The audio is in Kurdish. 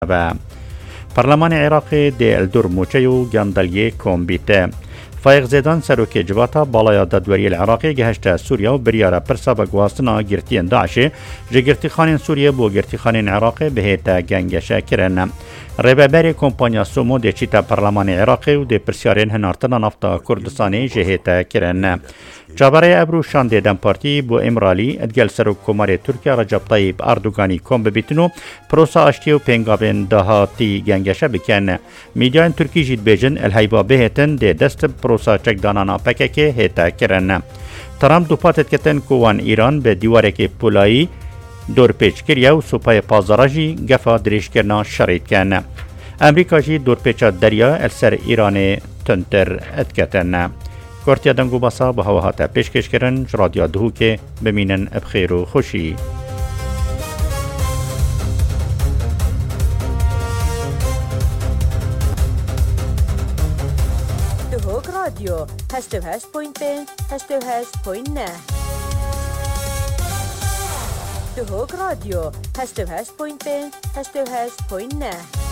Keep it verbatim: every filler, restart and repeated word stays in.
Ve Perlemanê Iraqê dê li dor mûçe û gendeliyê kom bîte. Faiq Zêdan, serokê Civata Balaya Dadweriyê li Iraqê gihişte Sûriye û biryara pirsa veguhastina girtiyên DAIŞê ji girtîxanên Sûriye bo girtîxanên Iraqê bihête gengeşe kirin. Rêveberê kompanya Somo dê çîte Perlemanê Iraqê û dê pirsyarên hinartina nafta Kurdistanê jê hête kirin. Çaverê ebru şandê DEM Partî bo Îmralî digel Serokkomarê Tirkiye Recep Tayyip Erdoganî kom bibîtin û prosa aştiyê û pêngavên dahatî gengeşe bikin. Mîdyayên Tirkî jî dibêjin, el heyva bihêtin dê dest bi prosa çekdanana P K K hête kirin. Trump dupa têdiketin ku wan Îran bi dîwarekê polayî dorpêç kiriye û Supayê Pazara jî gefa dirêjkirina şerê dikin. Amerîka jî dorpêça derya li ser Îranê tundtir diketin. Kortiya deng û basa bi hewa hate pêşkêşkirin ji Radya Duhokê. Bimînin bi xêr û xweşî. Duhok Radyo, heşt û heşt point pênc, heşt û heşt point neh. Duhok Radyo, heşt û heşt point pênc, heşt û heşt point neh.